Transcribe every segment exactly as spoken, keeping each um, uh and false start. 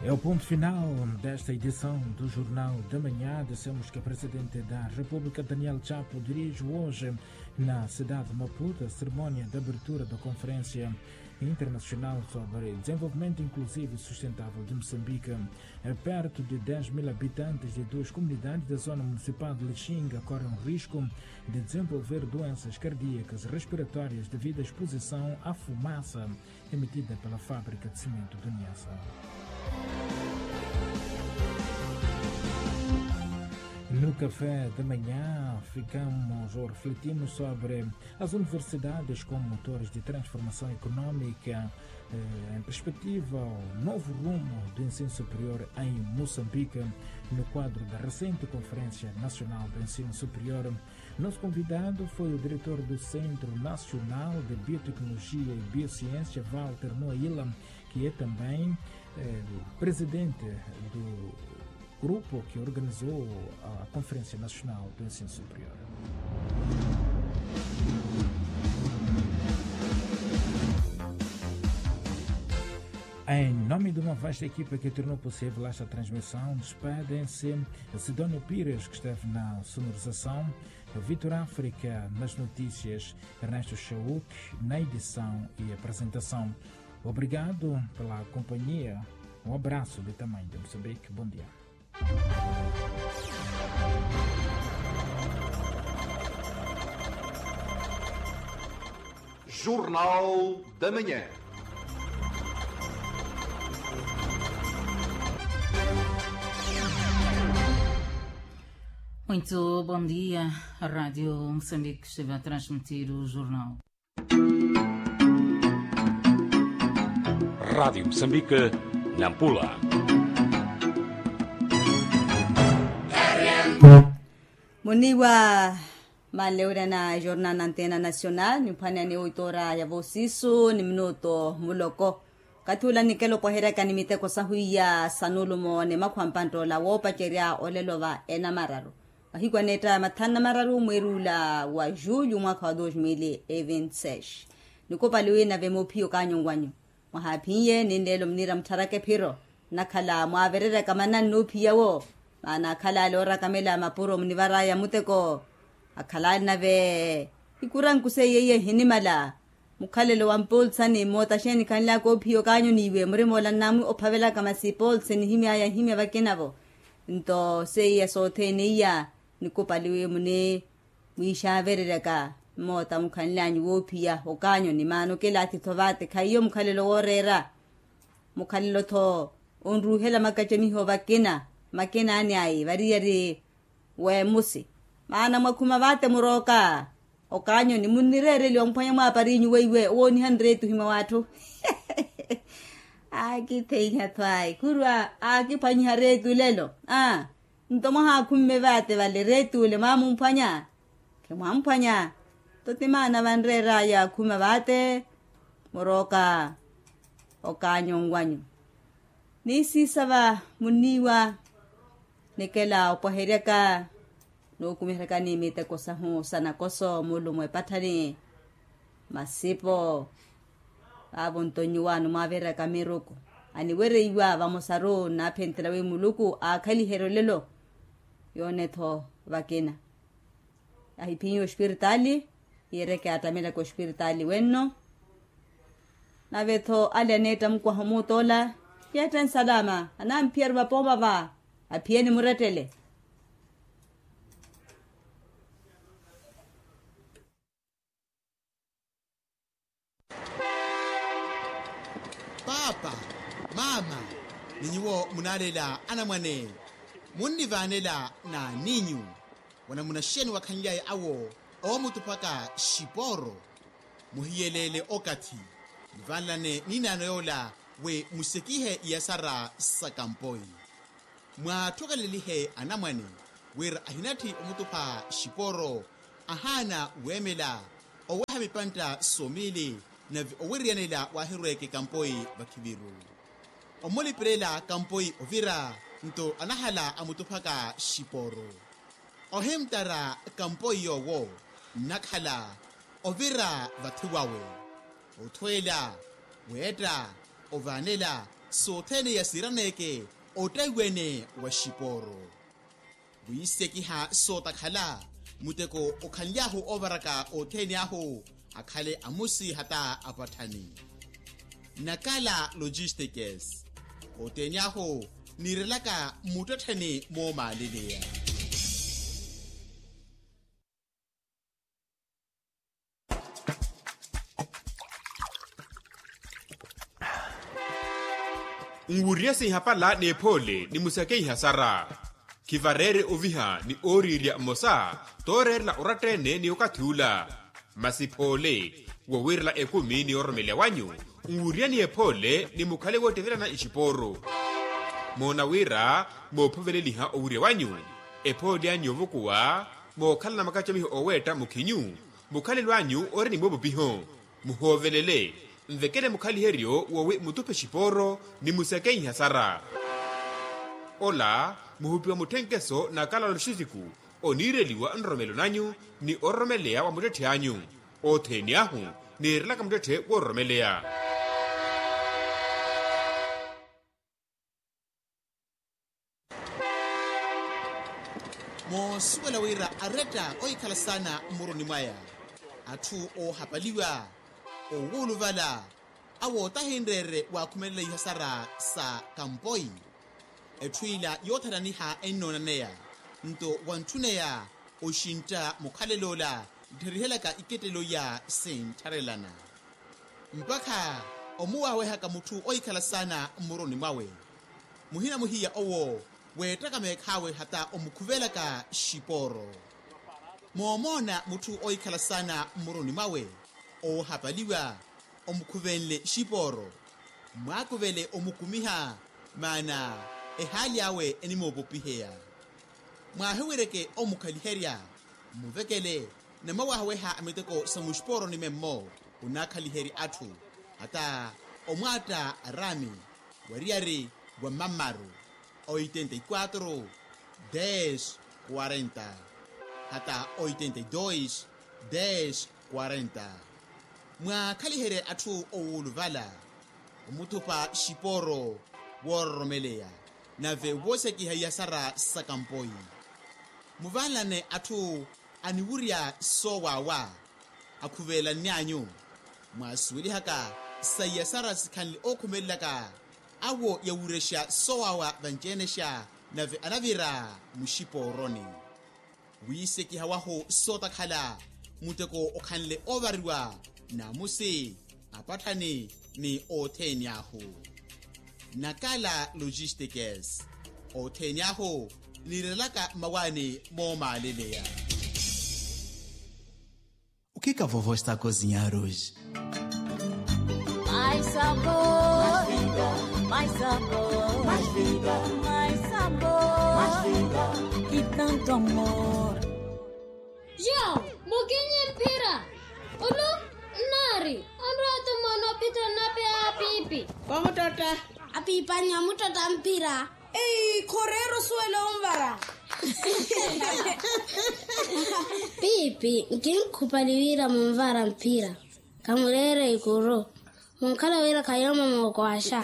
É o ponto final desta edição do Jornal da Manhã. Dissemos que o presidente da República, Daniel Chapo, dirige hoje na cidade de Maputo a cerimónia de abertura da Conferência Internacional sobre Desenvolvimento Inclusivo e Sustentável de Moçambique. É perto de dez mil habitantes de duas comunidades da zona municipal de Lixinga correm risco de desenvolver doenças cardíacas e respiratórias devido à exposição à fumaça emitida pela fábrica de cimento de Niassa. No café da manhã, ficamos ou refletimos sobre as universidades como motores de transformação econômica, eh, em perspectiva ao novo rumo do ensino superior em Moçambique, no quadro da recente Conferência Nacional do Ensino Superior. Nosso convidado foi o diretor do Centro Nacional de Biotecnologia e Biociência, Walter Moaila, que é também, eh, presidente do grupo que organizou a Conferência Nacional do Ensino Superior. Em nome de uma vasta equipa que tornou possível esta transmissão, despedem-se Sidónio Pires, que esteve na sonorização, Vitor África nas notícias, Ernesto Chauk na edição e apresentação. Obrigado pela companhia. Um abraço de tamanho de Moçambique. Bom dia. Jornal da Manhã. Muito bom dia. A Rádio Moçambique esteve a transmitir o jornal. Rádio Moçambique, Nampula. Muniwa manlewerya na jornal na antena nacional, nimphwaneyani oitora ya vosisu ni minuto muloko. Kathi ula nikela opwaheryaka ni miteko sahu iya sanulumo ni makhwa mpanttoola woopacerya olelo va enamararu. Mahiku aneetta ya mathanu na mararu mweeri ula wa julho mwaakha wa dos mil e vinte seis. Nikupali wina vemophiya okaanyonwanyu. Mwahaaphinye ni nleelo muniira muttharaka ephiro. Nnakhala mwaavereryaka manannu oophiya wo. Maana akhala ale oorakamela mapuro munivaraya muteko. Akhala ale nave ikurankuse iye iye ehinimala. Mukhalelo wa mpoolsani moota xeeni khanlyaka oophiya okaanyoniwe murimoola nnamwi ophavelaka masi poolse nihimyaya nhimya vakinavo. Nto seiya sothene iya nikupaliwe muni mwiixavereryaka mmoota mukhanlyanyu woophiya okaanyoni maana okelaathi-tho vaate khaiyo mukhalelo wooreera. Mukhalelo-tho onruuhela makacamiho vakina makinaani ayi variyari weemusi. Maana mwakhuma vaate murooka okaanyoni munnireereliwa mphwanya mwaapariinyu weiwe owooniha nreetuhi mwa w'atthu. Aakitheiha-tho ayi khurwa aakiphwanyiha reetu lelo. Aa nto mwahaakhumme vaate vale reetu ole mwaamumphwanya? Khimwamphwanya. Nto ti maana vanreeraya khuma vaate murooka okaanyonwanyu. Ni siisava muniiwa nikela opwaheryaka nookumiheryakani miteko sahu sa nakoso mulumo epatthani masipo. Vaavo nto nyuwaano mwaavereryaka miruku aniwereiwa vamosaru nnaaphenttela wi muluku aakhaliherye olelo. Yoone-tho vakina ahiphinyiwa ospiritaali. Iyeryeke attamelaka ospiritaali wenno. Nave-tho ale aneetta mukwaha omuuttoola yeette nsalaama anamphiyari vapooma va aphiyeni murettele. Paapa, maama, ni nyuwo munaalela anamwane munnivaanela n'aninyu. Wanamuna xeeni wakhanlyaye awo oomutuphaka xipooro? Muhiyeleele okathi muvaanelane n'inaano yoola wi musekihe iyasara sa kampoi. Mwaathokelelihe anamwane wira ahinatthi omutupha xipooro ahaana weemela oweha mipantta somiili nave owiriyanela waahirweeke kampoi vakhiviru. Omulipelela kampoi ovira nto anahala amutuphaka xipooro. Ohimttara kampoi yoowo nnakhala ovira vathi wawe othweela weetta ovaanela Sothene yasiraneke ottaiwene wa xipooro. Wiisekiha sootakhala muteko okhanly'ahu oovaraka othene ahu, akhale amusi hata apatthani. Nakala logistikes. Othene ahu niirelaka mmuttettheni moomaaleleya. Nwuriye sinhapala n'ephoole ni musakeiha sara. Khivareere oviha ni ooriirya mmosa tooreerela oratta-ene ni okathi ula. Masi phoole wowiirela ekumi ni ororomeleya wanyu, nwuriyani ephoole ni mukhale woottevelana ixipooru. Moona wira moophoveleliha owurya wanyu, ephoole anyu yoovukuwa mookhalana makacamiho ooweetta mukhinyu. Mukhalelo anyu ori ni moopopiho, muhoovelele, nvekele mukhaliheryo wowi mutuphe xipooro ni musakeiha sara. Ola muhupiwa mutthenkeso na kalalo xisiku oniireliwa nroromelo nanyu ni ororomeleya wa muttetthi anyu. Othene ahu niirelaka muttetthe woororomeleya. Moosuwela wira aretta ohikhala saana mmuruni mwaya, atthu oohapaliwa, owuuluvala, awo tahinreere waakhumelela ihasara sa kampoi. Etthu ila yoothananiha ennoonaneya nto wantthuneya oxintta mukhalel'ola, nttherihelyaka ikettelo iya sinttharelana. Mpakha omuwaawehaka mutthu ohikhala saana mmuruni mwawe, muhina muhiya owo weettaka meekhaawe hata omukhuvelaka xipooro. Moomoona mutthu ohikhala saana mmuruni mwawe oohapaliwa, omukhuvenle xipooro, mwaakuvele omukumiha, maana ehaali awe enimoopopiheya. Mwaahiwireke omukhaliherya, mmuvekele, na mwawahaweha miteko sa muxipooroni memmo, onaakhaliherya atthu, hata omwaatta araami wariyari wa mammaru, oitenta y quatro, dez, quarenta, hata oitenta y dois, dez, quarenta. Mwaakhaliherye atthu owuuluvala, omuthupa xipooro woororomeleya, nave woosekiha iyasara sa kampoi. Muvanlane atthu aniwurya soowaawa, akhuvelanny'anyu. Mwaasuwelihaka sa iyasara sikhanle ookhumelelaka, awo yawurexa soowaawa vanci-enexa, nave anavira muxipooroni. Wiisekiha wahu sootakhala, muteko okhanle oovariwa, naamusi, apatthani, ni othene ahu. Nakala logistikes. Othene ahu niirelaka mmawaani moomaaleleya. O que que a vovó está a cozinhar hoje? Mais sabor, mais sabor, mais vida, mais sabor, mais vida, e tanto amor. João, mukinye mphira. Olu nnaari, onrowa-tho mwaana opitha onape a piipi. Vamuttotta. Apiipanyu amuttotta mphira. Ei, khoreera osuwela onvara. Piipi, nkinkhupali wira munvara mphira. Khamureere ikuru. Munkhala wira khayooma mookwaaxa.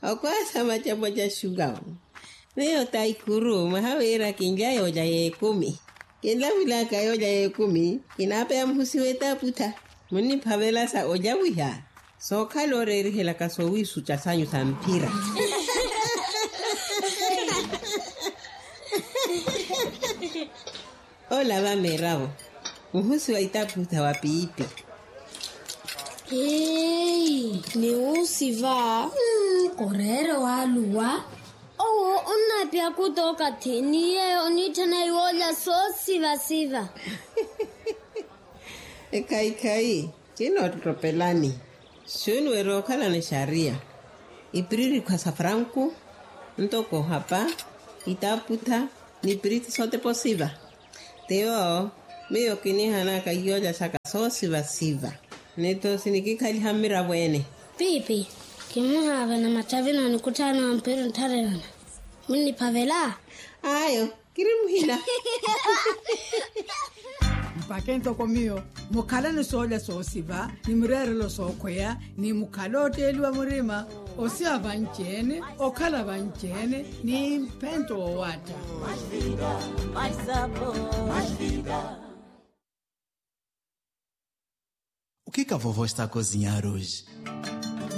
Okwaaxa macapo ca xukawu. Miyo ta ikuru mwaha wira kinlya yooja y'ekumi. Kinlavulaka yooja y'ekumi, kinaapeya muhusi w'etaputha. Munniphavela sa ojawiha, sookhala ooreerihelaka soowiisuca sanyu sa mphira. Ola va miravo, muhusi wa itaputha wa piipi. Hei, ni wuusi va. Koreere waaluwa. Owo onnaapya kuta okathi ni yeeyo oniitthana iwoolya soosivasiva. Ekhaikhai, kinoottottopelani. Xunuwera okhalana exariya, ipiririkhwa sa franku, ntoko ohapa, itaputha, n'ipirithi sotepa osiva. Tiyo miyo kinihanaka iyooja saka soosivasiva. Nitho sinikikhaliha mmiravweene. Piipi, kimuhaavana machavi n'onikutthaana wa mpira onttharerana. Munniphavela? Ayo, kiri muhina. Vake ntoko miyo, mukhalani soolya soosiva ni mireerelo sookhweya, ni mukhala otteeliwa murima, osiva vanci-ene, okhala vanci-ene ni mphento woowaatta. Okhika vovo estakozinyaruji.